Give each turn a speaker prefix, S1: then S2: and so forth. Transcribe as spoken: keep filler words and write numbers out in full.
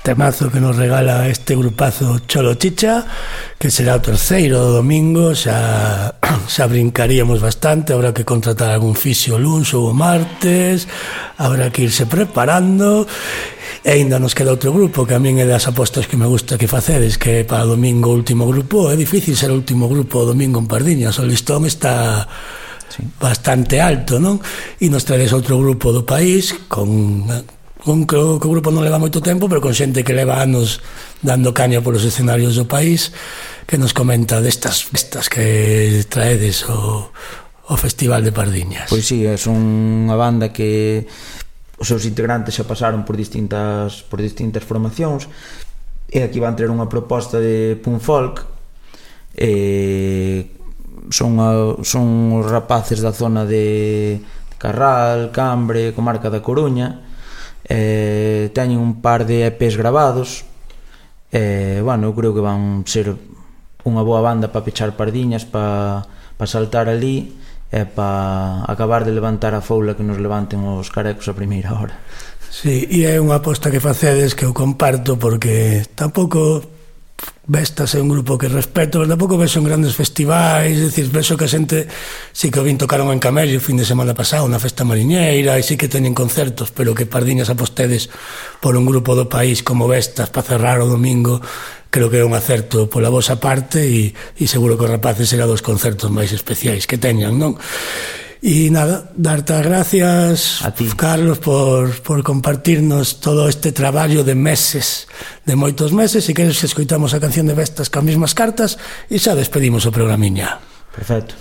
S1: temazo que nos regala este grupazo Cholo Chicha, que será o terceiro do domingo. Xa, xa brincaríamos bastante, habrá que contratar algún fisio o luns ou o martes, habrá que irse preparando. E ainda nos queda outro grupo que a min é das apostas que me gusta que facedes, que é para domingo o último grupo. É difícil ser o último grupo o domingo en Pardiñas, o listón está sí. bastante alto, non? E nos traes outro grupo do país con... un que o grupo non leva moito tempo, pero con xente que leva anos dando caña polos escenarios do país, que nos comenta destas festas que traedes o, o Festival de Pardiñas.
S2: Pois sí, é unha banda que os seus integrantes xa pasaron por distintas por distintas formacións, e aquí van ter unha proposta de punk folk. E son, a, son os rapaces da zona de Carral, Cambre, comarca da Coruña. Eh, teñen un par de E Pes grabados. Eh, bueno, eu creo que van ser unha boa banda para pechar Pardiñas, para pa saltar ali e para acabar de levantar a foula que nos levanten os carecos a primeira hora.
S1: Sí, e é unha aposta que facedes que eu comparto, porque tampouco Vestas é un grupo que respeto, pero tampouco vexo en grandes festivais. É dicir, vexo que a xente sí que o vin tocaron en Camello o fin de semana pasado na festa mariñeira, e sí que teñen concertos, pero que Pardiñas apostedes por un grupo do país como Vestas para cerrar o domingo, creo que é un acerto pola vosa parte, e, e seguro que os rapaces será dos concertos máis especiais que teñan, non? E nada, darte as gracias a ti, Carlos, por, por compartirnos todo este traballo de meses, de moitos meses. E queres que escoitamos a canción de Vestas con as mesmas cartas, e xa despedimos o programiña.
S2: Perfecto.